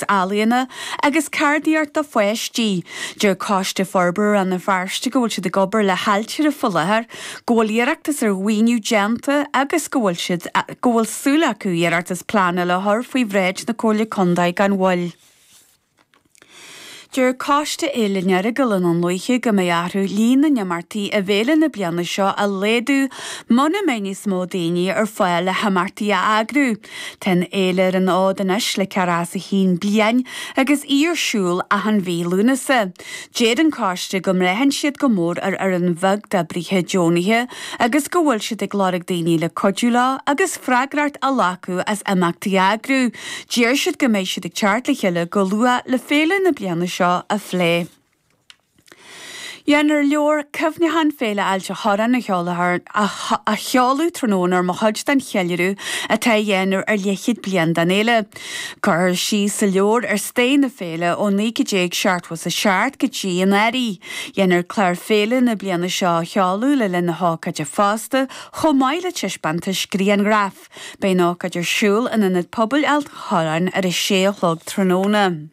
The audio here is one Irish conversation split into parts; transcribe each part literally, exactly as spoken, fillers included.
ealaíona agus ceardaíocht do pháistí. Deir Coiste Forbartha Rann na Feirste go bhfuil siad ag obair le hAiltire faoi láthair, go bhfuil iarratas ar mhaoiniú déanta agus go bhfuil siad go bhfuil súil acu iarratas pleanála a chur faoi bhráid na Comhairle Contae gan mhoill. Deir Coiste Fhéile an Earagail i nDún Lúiche go mbeidh orthu líon na n-imeachtaí i bhféile na bliana seo a laghdú muna mbeidh níos mó daoine ar fáil le himeachtaí a eagrú. Tá an fhéile ar an fhód anois le ceathracha is a haon bliain agus í ar siúl achan mhí Lúnasa. Deir an coiste go mbraitheann siad go mór ar fhoireann bheag d'oibrithe deonaithe agus go bhfuil siad ag lorg daoine le cuidiú leo agus freagracht a ghlacadh as imeachtaí a eagrú. Deir siad go mbeidh siad ag teacht le chéile go luath le féile na bliana seo a phlé. Dhéanfar leabhar cuimhneacháin Féile Ailt an Chorráin a sheoladh a sheoladh tráthnóna mar chuid den cheiliúradh atá á dhéanamh ar leathchéad bliain den fhéile. Cuirfear síos sa leabhar ar stair na féile ó naoi déag seachtó a seacht go dtí anuraidh. Dhéanfar clár féile na bliana seo a sheoladh le linn na hócáide fosta, chomh maith le taispeántas grianghraf. Beidh an ócáid ar siúl in Ionad Pobail Ailt an Chorráin ar a sé a chlog tráthnóna.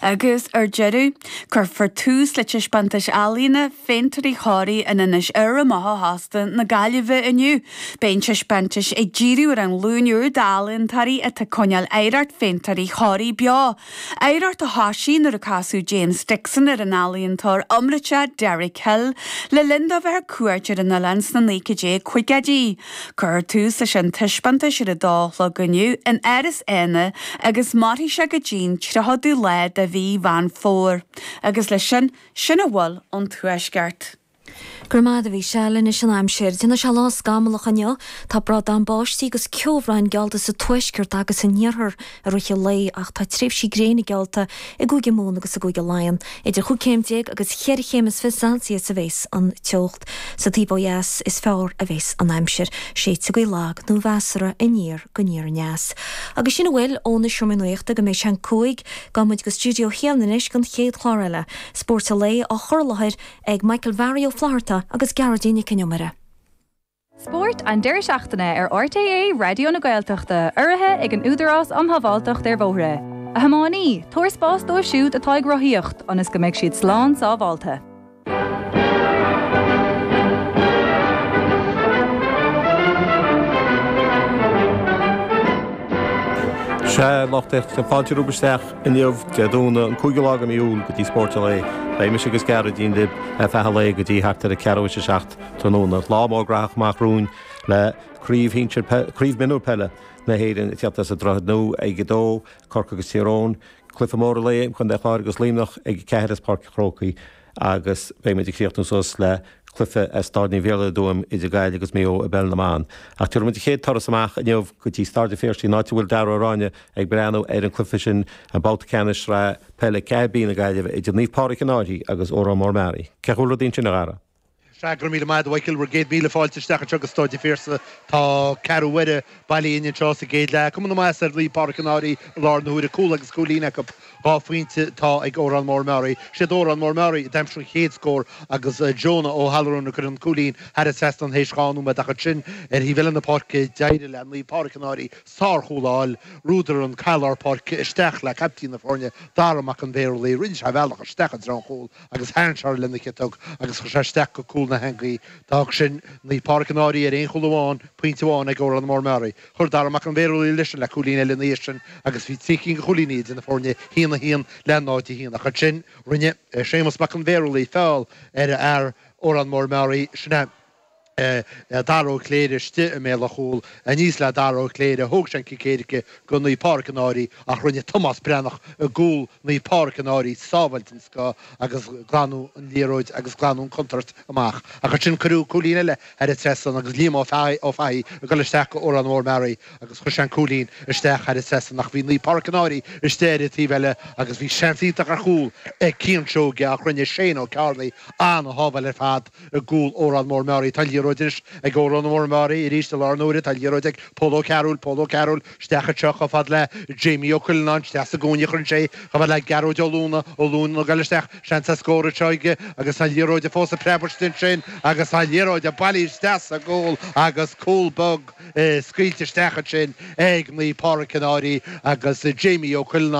Agus ar deireadh, cuirfear tús le taispeántas ealaíona Phéintéirí Thoraí in Inis Oirr amach ó chósta na Gaillimhe inniu. Beidh an taispeántas ag díriú ar an ghlúin úr d'ealaíontóirí atá ag coinneáil oidhreacht Phéintéirí Thoraí beo. Oidhreacht a thosaigh nuair a casadh James Dixon ar an ealaíontóir iomráiteach Derek Hill le linn dó bheith ar cuairt ar an oileán sna naoi déag caogaidí. Cuirfear tús leis an taispeántas ar a dó a chlog inniu in Áras Éanna agus mairfidh sé go dtí'n tríochadú lá de mhí Mheán Fómhair. Agus leis sin, sin a bhfuil ón Tuaisceart. Go raibh maith agat a Mhichelle anois an aimsir. Déanfaidh sé lá scamallach inniu, tá brádán báistí agus ceobhráin geallta sa tuaisceart agus san iarthar i rith an lae ach tá tréimhsí gréine geallta i gCúige Mumhan agus i gCúige Laighean. Idir chúig chéim déag agus cheithre chéim is fiche Celsius a bhéas an teocht. Sa taobh ó dheas is fearr a bhéas an aimsir. Séidfidh gaoth lag nó mheasartha aniar go aniar aneas. Agus sin a bhfuil ó na seomraí nuachta go mbeidh sé an cúig, gabhfaidh muid go stiúideo a haon anois don chéad chlár eile. Spórt an lae á chur i láthair ag Michael Bharry Ó Flatharta agus Gearóidín Nic an Iomaire. Spórt an deireadh seachtaine ar RTÉ Raidió na Gaeltachta, urraithe ag an Údarás um Shábháilteacht ar Bhóithre. A thiománaí, tabhair spás dóibh siúd atá ag rothaíocht, ionas go mbeidh siad slán sábháilte. Sea, lucht éisteachta, fáilte romhaibh isteach inniu, Dé Domhnaigh, an cúigiú lá de mhí Iúil, go dtí Spórt an Lae. Beidh mise agus Gearóidín libh ar feadh an lae go dtí thart ar a ceathrú théis a seacht tráthnóna. Lá mór graitheach amach romhainn le Craobh Shinsir, Craobh Mionúr Peile na hÉireann ag teacht as an Droichead Nua ag a dó, Corcaigh agus Tír Eoghain, cluiche mór an lae, Contae an Chláir agus Luimneach ag a ceathair as Páirc an Chrócaigh agus beidh muid ag críochnú suas le cluiche as Staid Naomh Iarlaith i dTuaim idir Gaillimh agus Maigh Eo i bPeil na mBan. Ach tabharfaidh muid an chéad turas amach inniu go dtí Staid an Phiarsaigh, an áit a bhfuil Dara Ó Ráinne ag breathnú ar an cluiche sin, an babhta ceannais Sraith Peile ceathair B na Gaillimhe idir Naomh Pádraig an Fhairche agus Órán Mór Meáraí. Cén chaoi a bhfuil rudaí ansin, a Dhara? Sea, go raibh míle maith agat, a Mhichael, bhur gcéad míle fáilte isteach anseo go Staid an Phiarsaigh. Tá ceathrú uaire bailithe againn anseo sa gcéad leath. Cuma na maitheasa ar Naomh Pádraig an Fhairche i láthair na huaire. Cúl agus cúilín acu. Dhá phointe atá ag Órán Mór Meáraí. Siad Órán Mór Meáraí a d'aimsigh an chéad scór agus Jonah Ó hAllarún ag cur an cúilín thar an trasnán théis dhá nóiméad ach ansin ar thaobh eile na páirce d'éirigh le Naomh Pádraig an Fhairche sárchúl a fháil. Bhrúdar an caid lár páirce isteach le caiptín na foirne, Dara Mac an Bhéarlaí. Rinne sé a bhealach isteach i dtreo an chúil agus tharraing sé lena chiotóg agus chuir sé isteach go cúl na heangaí. D'fhág sin Naomh Pádraig an Fhairche ar aon chúl amháin, pointe amháin ag Órán Mór Meáraí. Chuir Dara Mac an Bhéarlaí leis sin le cúilín eile ina dhiaidh sin agus bhí trí cinn de chúilíní idir na foirne, a haon a haon le náid a haon. Ach ansin rinne Séamus Mac an Bhéarlaí feall ar fhear Órán Mór Meáraí, sin é. Dara Ó Cléire istigh i mbéal an chúil, aníos le Dara Ó Cléire, thóg sé an cic éirice go Naomh Pádraig an Fhairche ach rinne Tomás Breathnach i gcúl Naomh Pádraig an Fhairche sábháil den scoth agus glanadh an liathróid agus glanadh an contúirt amach. Ach ansin cuireadh cúilín eile thar an trasnán agus Liam Ó Fathaigh ag dul isteach go Órán Mór Meáraí agus chuir sé an cúilín isteach thar an trasnán ach bhí Naomh Pádraig an Fhairche istigh ar an taobh eile agus bhí seans iontach ar chúl ag Cian Seoige ach rinne Shane Ó Cearnaigh an-shábháil ar fad i gcúl Órán Mór Meáraí. Tá an liathróid anois ag Órán Mór Meáraí arís i lár na huaire. Tá an liathróid ag Pól Ó Cearúil. Pól Ó Cearúil isteach anseo chomh fada le Jamie Ó Cuileanáin. Isteach sa gcúinne a chuireann sé í chomh fada le Gearóid Ó Lúna. Ó Lúna ag dul isteach. Seans ar scór anseo aige agus tá an liathróid fós ag preabadh istigh ansin agus tá an liathróid bailithe isteach sa gcúl agus cúl beag scaoilte isteach ansin ag Naomh Pádraig an Fhairche agus Jamie Ó Cuileanáin.